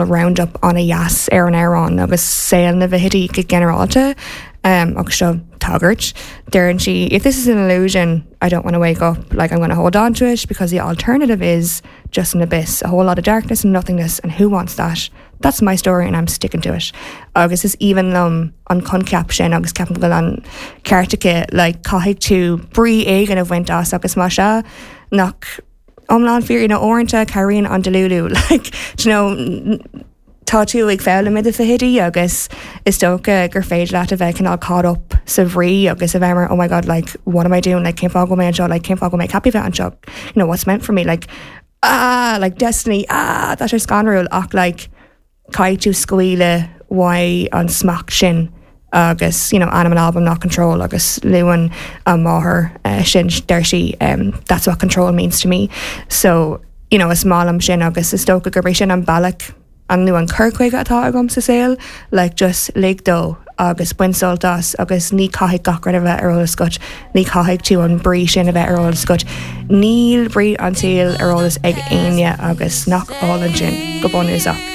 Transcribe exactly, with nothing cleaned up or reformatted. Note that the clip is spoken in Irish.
roundup an-deas ar an amhrán agus saol na bhfithidí go ginearálta um, agus seo tagairt. Deireann sí if this is an illusion I don't want to wake up like I'm going to hold on to it because the alternative is just an abyss a whole lot of darkness and nothingness and who wants that that's my story and I'm sticking to it agus is aoibhinn liom an coincheap sin agus ceapaim go bhfuil an ceart aici like caithfidh tú brí éigin a bhaint as agus má sea nach iomlán fíor ina uaireanta cabhraíonn an delulu like you know tá tú ag foghlaim i do fichidí agus is dócha gur féidir leat a bheith cineál caught up sa bhrí agus a bheith mar oh my god like what am I doing like cén fáth go mé anseo like cén fáth go mé ceaptha bheith anseo you know what's meant for me like ah like destiny ah tá sé scanrúil ach like caithfidh tú scaoileadh uaidh an smacht sin agus you know ainm an album ná control agus luann an máthair uh, sin deir sí um, that's what control means to me so you know is maith liom sin agus is dócha gurb é sin an bealach an nó an cur chuige atá agam sa saol like just lig dó agus bain sult as agus ní caithfidh gach rud a bheith ar eolas agat ní caithfidh tú an brí sin a bheith ar eolas agat níl brí an tsaoil ar eolas ag éinne agus nach álainn sin go bunúsach.